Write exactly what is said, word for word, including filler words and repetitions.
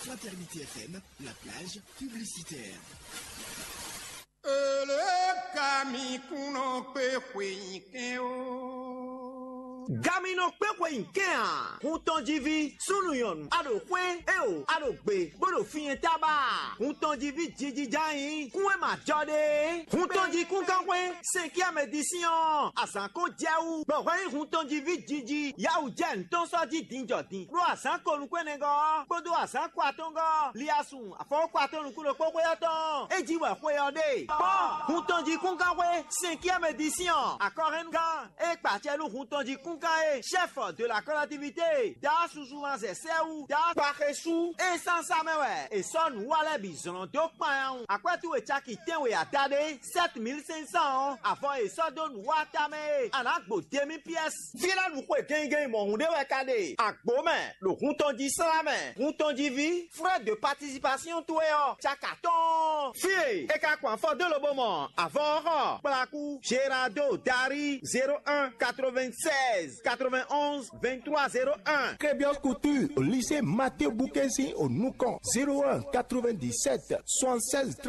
Fraternité F M, la plage publicitaire. Ele ka mi kún nɔ kpé xwe nyi kɛn o. Gaminɔ kpé xwe nyi kɛn a? Hun tɔn jí ví, súnnu nyɔ̌nu, a ɖo xwé, éo, a ɖo gbe, bó ɖo finyɛ tábà. Hun tɔn jí ví jijija nyi, kún e ma jɔ ɖe. Hun tɔn jí kún gán xwé, sɛn kí amɛ di sín ɔ́, azǎn kó jɛ wú, bɔ hwɛ nyí hun tɔn jí ví jiji, yawu jɛ ntɔn sɔ́ jí din jɔ din. Ɖó azǎn ko nukún ɛnɛgɔ́ ɔ́, kpódó azǎn ko atɔ́ngɔ́ ɔ́, li asun afɔwɔ́kɔ atɔ́ nukún ɖokpó xwé ɔ́ tɔn, é jí wɛ xwe ɔ́ ɖe. Kpɔ́n, hun tɔn jí kún gán xwé, sɛn kí amɛ di sín ɔ́, akɔhɛnnugán, é kpa acɛ nú hun tɔn jí kún gán é, chef de la collectivité, da susu ma zɛ sɛ́ wú, da kpa xesú, é sánsá mɛ wɛ, è sɔ́ nǔ wa lɛ́ɛ bǐ zlɔ́n dó kpan ya wun. Akwɛ́ towe caki tɛ́nwe ada ɖé, sept mille cinq cents ɔ́, avɔ è sɔ́ dó nǔ wa tamɛ é, a nǎ gbo demi pièce. Fí lɛ́ɛ ɖu xwe gɛngɛn mɔ̌hun ɖé wɛ ka ɖe. Agbo mɛ, ɖo hun tɔn jí slá mɛ, hun tɔn jí ví, frais de participation towe ɔ́, caka tɔn. Fí e é ka kɔn afɔ dó lobo mɔ avɔ ɔ́ xɔ, kplakú, Gerardo Dari, zéro un, quatre-vingt-seize, quatre-vingt-onze, vingt-trois, zéro un. Crébios Couture, au lycée Mathieu Boukensi au Noucan, zéro un, quatre-vingt-dix-sept, soixante-seize,